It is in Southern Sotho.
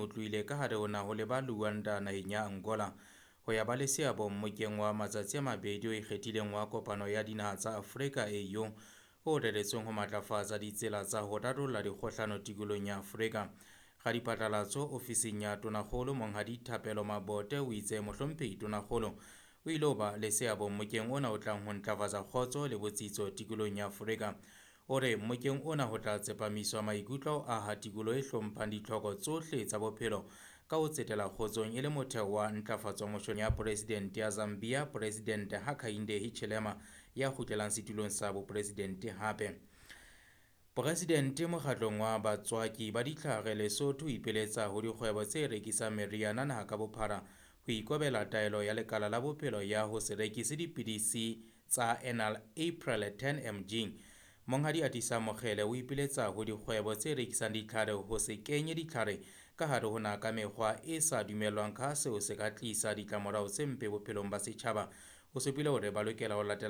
O tlohile ka hare ho naha ho leba Luanda naheng ya Angola ho ya ba le seabo mmokeng wa matsatsi a mabedi o ikgethileng wa Kopano ya Dinaha tsa Afrika AU o reretsweng ho matlafatsa ditsela tsa ho rarolla dikgohlano tikolohong ya Afrika. Radiphatlalatso ofising ya Tonakgolo Monghadi Thapelo Mabote o itse mohlomphehi Tonakgolo o ile ho ba le seabo mmokeng ona o tlang ho ntlafatsa kgotso le botsitso tikolohong ya Afrika. O re mmokeng ona ho tla tsepamiswa maikutlo ho aha tikoloho e hlomphang ditlhoko tsohle tsa bophelo ka ho tsetela kgotsong e le motheo wa ntlafatso moshong ya Poresidente ya Zambia Poresidente Hakainde Hichilema ya kgutlelang setulong sa boporesidente hape. Poresidente mokgatlong wa batswaki ba ditlhare Lesotho o ipiletsa ho dikgwebo tse rekisang meriana naha ka bophara ho ikobela taelo ya lekala la bophelo ya ho se rekise dipidisi tsa Enalapril 10 mg. Monghadi Atisa Mokgele o ipiletsa ho dikgwebo tse rekisang ditlhare ho se kenye ditlhare ka hare ho naha ka mekgwa e sa dumellwang ka seo se ka tlisa ditlamorao tse mpe bophelong ba setjhaba. O supile hore ba lokela ho latela